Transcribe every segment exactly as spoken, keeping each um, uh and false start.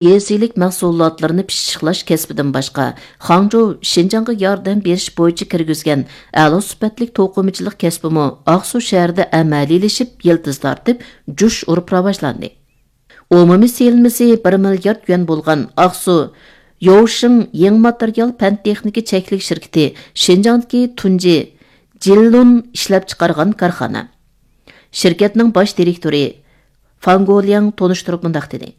يېزا ئىگىلىك مەھسۇلاتلىرىنى پىششىقلاش كەسپىدىن باشقا، خاڭجۇ شىنجاڭغا ياردەم بېرىش بويىچە كىرگۈزگەن ئەلا سۈپەتلىك توقۇمىچىلىق كەسپىمۇ ئاقسۇ شەھىرىدە ئەمەلىيلىشىپ، يىلتىز تارتىپ، جۇش ئۇرۇپ راۋاجلاندى. ئومۇمىي سېلىنمىسى بىر مىليارد يۈەن بولغان ئاقسۇ يوۋشىڭ يېڭى ماتېرىيال پەن تېخنىكا چەكلىك شىركىتى شىنجاڭدىكى تۇنجى جىللۇن ئىشلەپچىقارغان كارخانا. شىركەتنىڭ باش دىرېكتورى فاڭ گولياڭ تونۇشتۇرۇپ مۇنداق دېدى: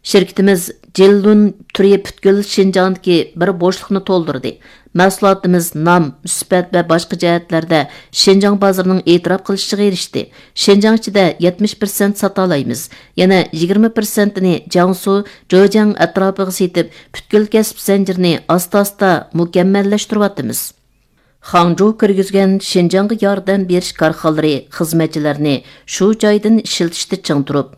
«شىركىتىمىز جىللۇن تۈرى پۈتكۈل شىنجاڭدىكى بىر بوشلۇقنى تولدۇردى. مەھسۇلاتىمىز نام، سۈپەت ۋە باشقا جەھەتلەردە شىنجاڭ بازىرىنىڭ ئېتىراپ قىلىشىغا ئېرىشتى. شىنجاڭ ئىچىدە يەتمىش پىرسەنت ساتالايمىز. يەنە يىگىرمە پىرسەنتىنى جياڭسۇ، جېجياڭ ئەتراپىغا سېتىپ، پۈتكۈل كەسىپ زەنجىرىنى ئاستا-ئاستا مۇكەممەللەشتۈرۈۋاتىمىز.» خاڭجۇ كىرگۈزگەن شىنجاڭغا ياردەم بېرىش كارخانىلىرى خىزمەتچىلەرنى شۇ جايدىن ئىشلىتىشتە چىڭ تۇرۇپ،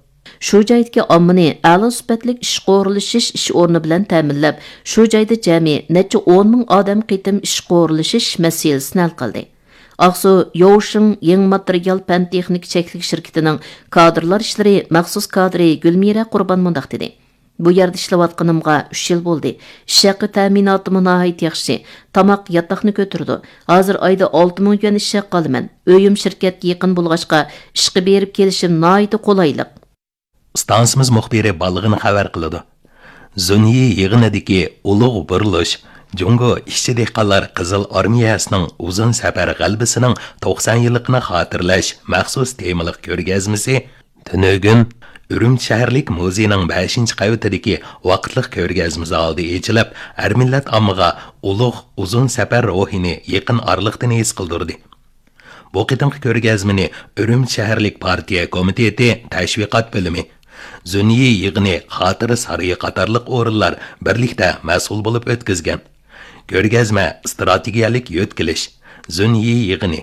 شۇ جايدىكى ئاممىنى ئەلا سۈپەتلىك ئىشقا ئورۇنلىشىش ئىش ئورنى بىلەن تەمىنلەپ، شۇ جايدا جەمئىي نەچچە ئون مىڭ ئادەم قېتىم ئىشقا ئورۇنلىشىش مەسىلىسىنى ھەل قىلدى. ئاقسۇ يوۋشىڭ يېڭى ماتېرىيال پەن تېخنىكا چەكلىك شىركىتىنىڭ كادىرلار ئىشلىرى مەخسۇس كادىرى گۈلمىرە قۇربان مۇنداق دېدى: «بۇ يەردە ئىشلەۋاتقىنىمغا ئۈچ يىل بولدى. ئىش ھەققى تەمىناتىمۇ ناھايىتى ياخشى. تاماق ياتاقنى كۆتۈرىدۇ. ھازىر ئايدا ئالتە مىڭ يۈەن ئىش ھەققى ئالىمەن. ئۆيۈم شىركەتكە يېقىن بولغاچقا، ئىشقا بېرىپ كېلىشىم ناھايىتى قولايلىق.» ئىستانسىمىز مۇخبىرى بالىغىنى خەۋەر قىلىدۇ. زۇنيى يىغىنىدىكى ئۇلۇغ بۇرۇلۇش، جۇڭگو ئىشچى دېھقانلار قىزىل ئارمىيەسىنىڭ ئۇزۇن سەپەر غەلىبىسىنىڭ توقسان يىللىقىنى خاتىرىلەش مەخسۇس تېمىلىق كۆرگەزمىسى تۈنۈگۈن ئۈرۈمچى شەھەرلىك مۇزېينىڭ بەشىنچى قەۋىتىدىكى ۋاقىتلىق كۆرگەزمە زالىدا ئېچىلىپ، ھەر مىللەت ئاممىغا ئۇلۇغ ئۇزۇن سەپەر روھىنى يېقىن ئارىلىقتىن ھېس قىلدۇردى. بۇ قېتىمقى كۆرگەزمىنى ئۈرۈمچى شەھەرلىك پارتىيە كومىتېتى تەشۋىقات بۆلۈمى، زۈنيى يىغىنى خاتىرە سارىيى قاتارلىق ئورۇنلار بىرلىكتە مەسئۇل بولۇپ ئۆتكۈزگەن. كۆرگەزمە ئىستراتېگىيەلىك يۆتكىلىش، زۈنيى يىغىنى،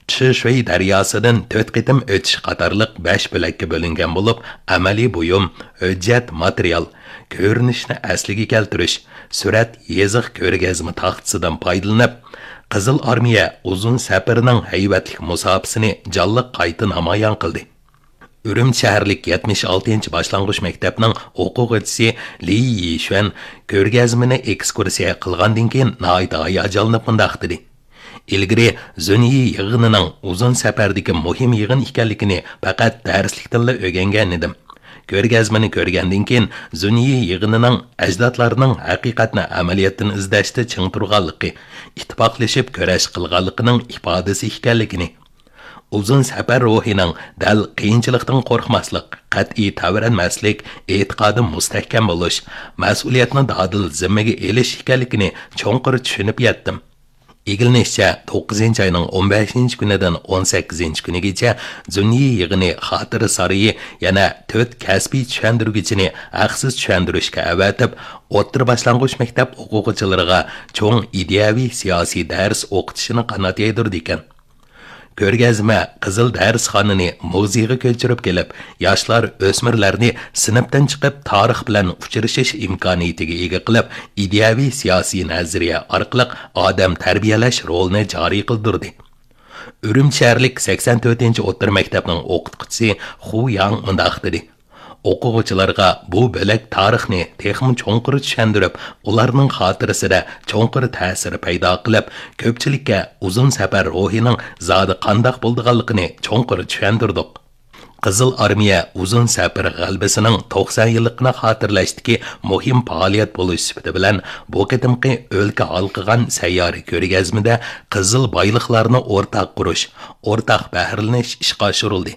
چىشۈي دەرياسىدىن تۆت قېتىم ئۆتۈش قاتارلىق بەش بۆلەككە بۆلۈنگەن بولۇپ، ئەمەلىي بۇيۇم، ھۆججەت ماتېرىيال، كۆرۈنۈشنى ئەسلىگە كەلتۈرۈش، سۈرەت، يېزىق، كۆرگەزمە تاختىسىدىن پايدىلىنىپ، قىزىل ئارمىيە ئۇزۇن سەپىرىنىڭ ھەيۋەتلىك مۇساپىسىنى جانلىق قايتا نامايان قىلدى. ئۈرۈمچى شەھەرلىك يەتمىش ئالتىنچى باشلانغۇچ مەكتەپنىڭ ئوقۇغۇچىسى لى يىشۈەن كۆرگەزمىنى ئېكسكۇرسىيە قىلغاندىن كېيىن ناھايىتى ھاياجانلىنىپ مۇنداق دېدى: «ئىلگىرى زۈنيى يىغىنىنىڭ ئۇزۇن سەپەردىكى مۇھىم يىغىن ئىكەنلىكىنى پەقەت دەرسلىكتىنلا ئۆگەنگەن ئىدىم. كۆرگەزمىنى كۆرگەندىن كېيىن، زۈنيى يىغىنىنىڭ ئەجدادلارنىڭ ھەقىقەتنى ئەمەلىيەتتىن ئىزدەشتە چىڭ تۇرغانلىقى، ئىتتىپاقلىشىپ كۈرەش قىلغانلىقىنىڭ ئىپادىسى ئىكەنلىكىنى، ئۇزۇن سەپەر روھىنىڭ دەل قىيىنچىلىقتىن قورقماسلىق، قەتئىي تەۋرەنمەسلىك، ئېتىقادى مۇستەھكەم بولۇش، مەسئۇلىيەتنى دادىل زىممىگە ئېلىش ئىكەنلىكىنى چوڭقۇر چۈشىنىپ يەتتىم.» ئىگىلىنىشىچە، توققۇزىنچى ئاينىڭ ئون بەشىنچى كۈنىدىن ئون سەككىزىنچى كۈنىگىچە زۈنيى يىغىنى خاتىرە سارىيى يەنە تۆت كەسپىي چۈشەندۈرگۈچىنى ھەقسىز چۈشەندۈرۈشكە ئەۋەتىپ، ئوتتۇرا باشلانغۇچ مەكتەپ ئوقۇغۇچىلىرىغا چوڭ ئىدىيەۋى سىياسىي دەرس ئوقۇتۇشىنى قانات يايدۇرىدىكەن. كۆرگەزمە قىزىل دەرسخانىنى مۇزېيغا كۆچۈرۈپ كېلىپ، ياشلار، ئۆسمۈرلەرنى سىنىپتىن چىقىپ تارىخ بىلەن ئۇچرىشىش ئىمكانىيىتىگە ئىگە قىلىپ، ئىدىيەۋى سىياسىي نەزەرىيە ئارقىلىق ئادەم تەربىيەلەش رولىنى جارى قىلدۇردى. ئۈرۈمچى شەھەرلىك سەكسەن تۆتىنچى ئوتتۇرا مەكتەپنىڭ ئوقۇتقۇچىسى خۇ ياڭ مۇنداق دېدى: «ئوقۇغۇچىلارغا بۇ بۆلەك تارىخنى تېخىمۇ چوڭقۇر چۈشەندۈرۈپ، ئۇلارنىڭ خاتىرىسىدە چوڭقۇر تەسىر پەيدا قىلىپ، كۆپچىلىككە ئۇزۇن سەپەر روھىنىڭ زادى قانداق بولىدىغانلىقىنى چوڭقۇر چۈشەندۈردۇق.» قىزىل ئارمىيە ئۇزۇن سەپەر غەلىبىسىنىڭ توقسان يىللىقىنى خاتىرىلەشتىكى مۇھىم پائالىيەت بولۇش سۈپىتى بىلەن، بۇ قېتىمقى ئۆلكە ھالقىغان سەييارە كۆرگەزمىدە قىزىل بايلىقلارنى ئورتاق قۇرۇش، ئورتاق بەھرىلىنىش ئىشقا ئاشۇرۇلدى.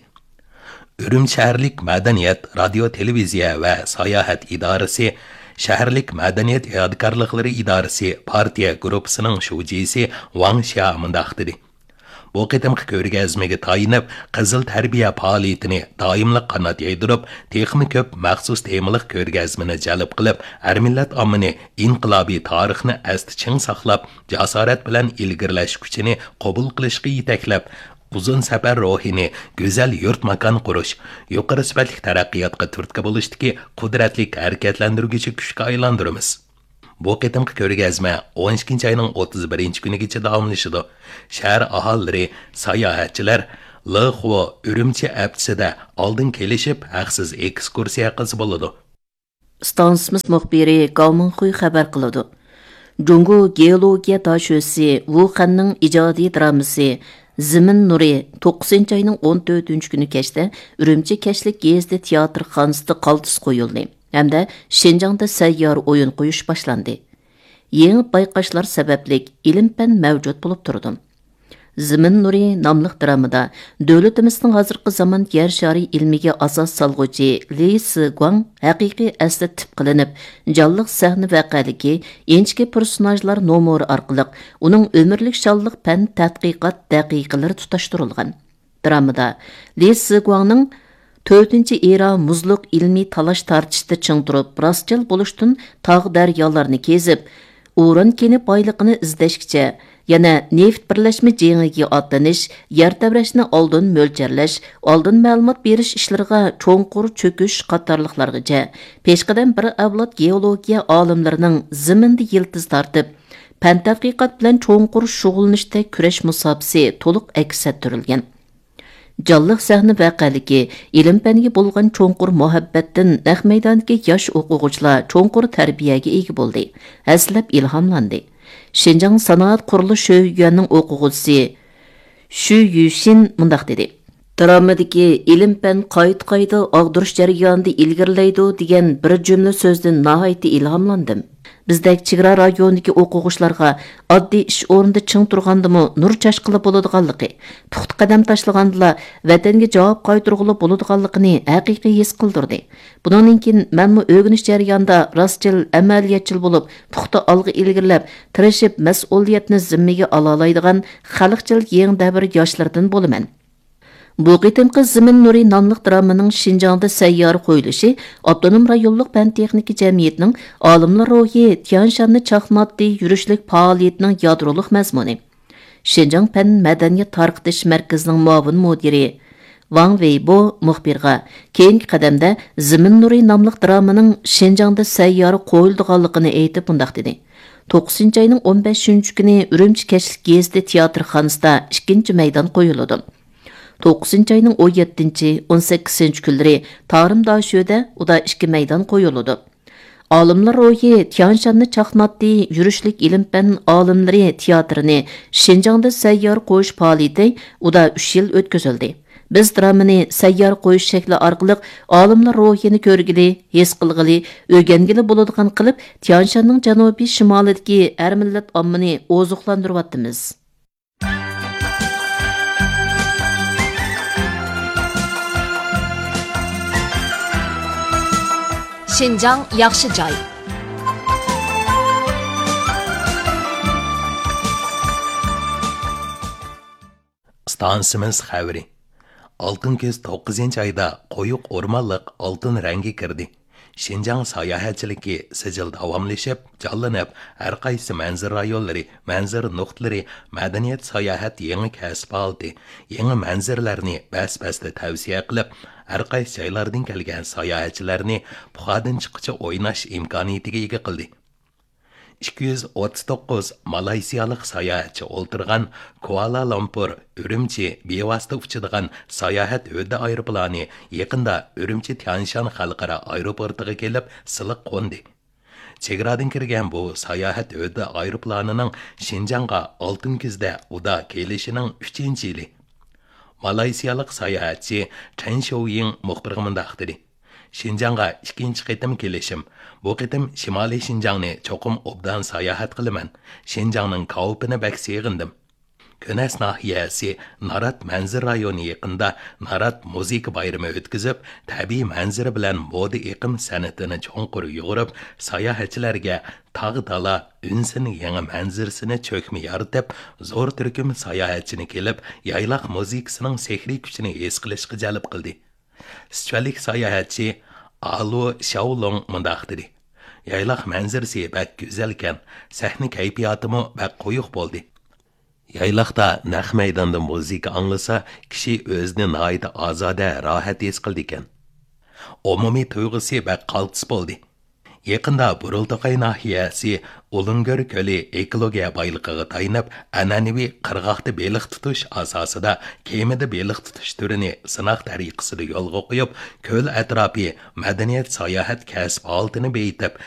ئۈرۈمچى شەھەرلىك مەدەنىيەت، رادىيو، تېلېۋىزىيە ۋە ساياھەت ئىدارىسى، شەھەرلىك مەدەنىيەت يادىكارلىقلىرى ئىدارىسى پارتىيە گۇرۇپپىسىنىڭ شۇجىسى ۋاڭ شيا مۇنداق دېدى: «بۇ قېتىمقى كۆرگەزمىگە تايىنىپ، قىزىل تەربىيە پائالىيىتىنى دائىملىق قانات يايدۇرۇپ، تېخىمۇ كۆپ مەخسۇس تېمىلىق كۆرگەزمىنى جەلپ قىلىپ، ھەر مىللەت ئاممىنى ئىنقىلابىي تارىخنى ئەستە چىڭ ساقلاپ، جاسارەت بىلەن ئىلگىرىلەش كۈچىنى قوبۇل قىلىشقا يېتەكلەپ، ئۇزۇن سەپەر روھىنى گۈزەل يۇرت ماكان قۇرۇش، يۇقىرى سۈپەتلىك تەرەققىياتقا تۈرتكە بولۇشتىكى قۇدرەتلىك ھەرىكەتلەندۈرگۈچى كۈچكە ئايلاندۇرىمىز.» بۇ قېتىمقى كۆرگەزمە ئون ئىككىنچى ئاينىڭ ئوتتۇز بىرىنچى كۈنىگىچە داۋاملىشىدۇ. شەھەر ئاھالىلىرى، ساياھەتچىلەر لېخۇ ئۈرۈمچى ھەپتىسىدە ئالدىن كېلىشىپ، ھەقسىز ئېكسكۇرسىيە قىلسا بولىدۇ. ئىستانسىمىز مۇخبىرى گاۋ مىڭخۇي خەۋەر قىلىدۇ. جۇڭگو گېئولوگىيە داشۆسى ۋۇ خەننىڭ ئىجادىي درامىسى زېمىن نۇرى توققۇزىنچى ئاينىڭ ئون تۆتىنچى كۈنى كەچتە ئۈرۈمچى كەچلىك گېزىتى تىياتىرخانىسىدا قالتىس قويۇلدى ھەمدە شىنجاڭدا سەييارە ئويۇن قويۇش باشلاندى. يېڭى بايقاشلار سەۋەبلىك ئىلىم-پەن مەۋجۇت بولۇپ تۇرىدۇ. زېمىن نۇرى ناملىق درامىدا دۆلىتىمىزنىڭ ھازىرقى زامان يەر شارى ئىلمىگە ئاساس سالغۇچى لى سىگۇاڭ ھەقىقىي ئەسلى تىپ قىلىنىپ، جانلىق سەھنە ۋەقەلىكى، ئىنچىكە پېرسوناژلار نومۇرى ئارقىلىق ئۇنىڭ ئۆمۈرلۈك شانلىق پەن تەتقىقات دەقىقىلىرى تۇتاشتۇرۇلغان. درامىدا لى سىگۇاڭنىڭ تۆتىنچى ئېرا مۇزلۇق ئىلمىي تالاش-تارتىشتا چىڭ تۇرۇپ، راستچىل بولۇشتىن تاغ-دەريالارنى كېزىپ، ئۇران كېنى بايلىقىنى ئىزدەشكىچە، يەنە نېفىت بىرلەشمە جېڭىگە ئاتلىنىش، يەر تەۋرەشنى ئالدىن مۆلچەرلەش، ئالدىن مەلۇمات بېرىش ئىشلىرىغا چوڭقۇر چۆكۈش قاتارلىقلارغىچە، پېشقەدەم بىر ئەۋلاد گېئولوگىيە ئالىملىرىنىڭ زېمىندا يىلتىز تارتىپ، پەن تەتقىقات بىلەن چوڭقۇر شۇغۇللىنىشتەك كۈرەش مۇساپىسى تولۇق ئەكس ئەتتۈرۈلگەن. جانلىق سەھنە ۋەقەلىكى، ئىلىم-پەنگە بولغان چوڭقۇر مۇھەببەتتىن نەق مەيداندىكى ياش ئوقۇغۇچىلار چوڭقۇر تەربىيەگە ئىگە بولدى، ھەسسىلەپ ئىلھاملاندى. شىنجاڭ سانائەت قۇرۇلۇش شۆيۈەنىڭ ئوقۇغۇچىسى شۈ يۈشىن مۇنداق دېدى: «درامىدىكى ئىلىم-پەن قايتا-قايتا ئاغدۇرۇش جەريانىدا ئىلگىرىلەيدۇ» دېگەن بىر جۈملە سۆزدىن ناھايىتى ئىلھاملاندىم. بىزدەك چېگرا رايونىدىكى ئوقۇغۇچىلارغا ئاددىي ئىش ئورنىدا چىڭ تۇرغاندىمۇ نۇر چاچقىلى بولىدىغانلىقى، پۇختا قەدەم تاشلىغاندىلا ۋەتەنگە جاۋاب قايتۇرغىلى بولىدىغانلىقىنى ھەقىقىي ھېس قىلدۇردى. بۇنىڭدىن كېيىن مەنمۇ ئۆگىنىش جەريانىدا راستچىل، ئەمەلىيەتچىل بولۇپ، پۇختا ئالغا ئىلگىرىلەپ، تىرىشىپ، مەسئۇلىيەتنى زىممىگە ئالالايدىغان خەلقچىل يېڭى دەۋر ياشلىرىدىن بولىمەن. بۇ قېتىمقى زېمىن نۇرى ناملىق درامىنىڭ شىنجاڭدا سەييارە قويۇلۇشى ئاپتونوم رايونلۇق پەن-تېخنىكا جەمئىيىتىنىڭ ئالىملار روھى تيانشاننى چاقناتتى يۈرۈشلۈك پائالىيىتىنىڭ يادرولۇق مەزمۇنى. شىنجاڭ پەن مەدەنىيەت تارقىتىش مەركىزىنىڭ مۇئاۋىن مۇدىرى ۋاڭ ۋېيبو مۇخبىرغا كېيىنكى قەدەمدە زېمىن نۇرى ناملىق درامىنىڭ شىنجاڭدا سەييارە قويۇلىدىغانلىقىنى ئېيتىپ مۇنداق دېدى: «توققۇزىنچى ئاينىڭ ئون بەشىنچى كۈنى ئۈرۈمچى كەچلىك گېزىتى تىياتىرخانىسىدا ئىككىنچى مەيدان قويۇلىدۇ. توققۇزىنچى ئاينىڭ ئون يەتتىنچى، ئون سەككىزىنچى كۈنلىرى تارىم داشۆدە ئۇدا ئىككى مەيدان قويۇلىدۇ.» ئالىملار روھى تيانشاننى چاقناتتى يۈرۈشلۈك ئىلىم-پەن ئالىملىرى تىياتىرىنى شىنجاڭدا سەييارە قويۇش پائالىيىتى ئۇدا ئۈچ يىل ئۆتكۈزۈلدى. بىز درامىنى سەييارە قويۇش شەكلى ئارقىلىق ئالىملار روھىنى كۆرگىلى، ھېس قىلغىلى، ئۆگەنگىلى بولىدىغان قىلىپ، تيانشاننىڭ جەنۇبىي شىمالىدىكى ھەر مىللەت ئاممىنى ئوزۇقلاندۇرۇۋاتىمىز. شىنجاڭ ياخشى جاي. ئىستانسىمىز خەۋىرى. ئالتۇن كۈز توققۇزىنچى ئايدا قويۇق ئورمانلىق ئالتۇن رەڭگە كىردى. شىنجاڭ ساياھەتچىلىكى سىجىل داۋاملىشىپ، جانلىنىپ، ھەر قايسى مەنزىرە رايونلىرى، مەنزىرە نۇقتىلىرى، مەدەنىيەت ساياھەت يېڭى كەسىپ ھالىتى، يېڭى مەنزىرىلەرنى بەس-بەستە تەۋسىيە قىلىپ، ھەر قايسى جايلاردىن كەلگەن ساياھەتچىلەرنى پۇخادىن چىققىچە ئويناش ئىمكانىيىتىگە ئىگە قىلدى. ئىككى يۈز ئوتتۇز توققۇز مالايسىيالىق ساياھەتچى ئولتۇرغان كۇئالالامپۇر، ئۈرۈمچى بىۋاسىتە ئۇچىدىغان ساياھەت ھۆددە ئايروپىلانى يېقىندا ئۈرۈمچى تيانشان خەلقئارا ئايروپورتىغا كېلىپ سىلىق قوندى. چېگرادىن كىرگەن بۇ ساياھەت ھۆددە ئايروپىلانىنىڭ شىنجاڭغا ئالتۇن كۈزدە ئۇدا كېلىشىنىڭ ئۈچىنچى يىلى. مالايسىيالىق ساياھەتچى چەن شوۋيىڭ مۇخبىرغا مۇنداق دېدى: «شىنجاڭغا ئىككىنچى قېتىم كېلىشىم. بۇ قېتىم شىمالىي شىنجاڭنى چوقۇم ئوبدان ساياھەت قىلىمەن. شىنجاڭنىڭ كاۋىپىنى بەك سېغىندىم.» كۈنەس ناھىيەسى نارات مەنزىرە رايونى يېقىنىدا نارات مۇزىكا بايرىمى ئۆتكۈزۈپ، تەبىئىي مەنزىرە بىلەن مودا ئېقىم سەنئىتىنى چوڭقۇر يۇغۇرۇپ، ساياھەتچىلەرگە تاغ-دالا ئۈنسىنىڭ يېڭى مەنزىرىسىنى چۆكمە يارىتىپ، زور تۈركۈم ساياھەتچىنى كېلىپ، يايلاق مۇزىكىسىنىڭ سېھرىي كۈچىنى ھېس قىلىشقا جەلپ قىلدى. سىچۈەنلىك ساياھەتچى ئالۇ شياۋلۇڭ مۇنداق دېدى: «يايلاق مەنزىرىسى بەك گۈزەلكەن، سەھنە كەيپىياتىمۇ بەك قويۇق بولدى. يايلاقتا نەق مەيداندا مۇزىكا ئاڭلىسا، كىشى ئۆزىنى ناھايىتى ئازادە، راھەت ھېس قىلىدىكەن. ئومۇمىي تۇيغۇسى بەك قالتىس بولدى.» يېقىندا بۇرۇلتاقاي ناھىيەسى ئۇلۇڭگۆر كۆلى ئېكولوگىيە بايلىقىغا تايىنىپ، ئەنئەنىۋى قىرغاقتا بېلىق تۇتۇش ئاساسىدا كېمىدە بېلىق تۇتۇش تۈرىنى سىناق تەرىقىسىدە يولغا قويۇپ، كۆل ئەتراپى مەدەنىيەت، ساياھەت، كەسىپ ھالىتىنى بېيىتىپ،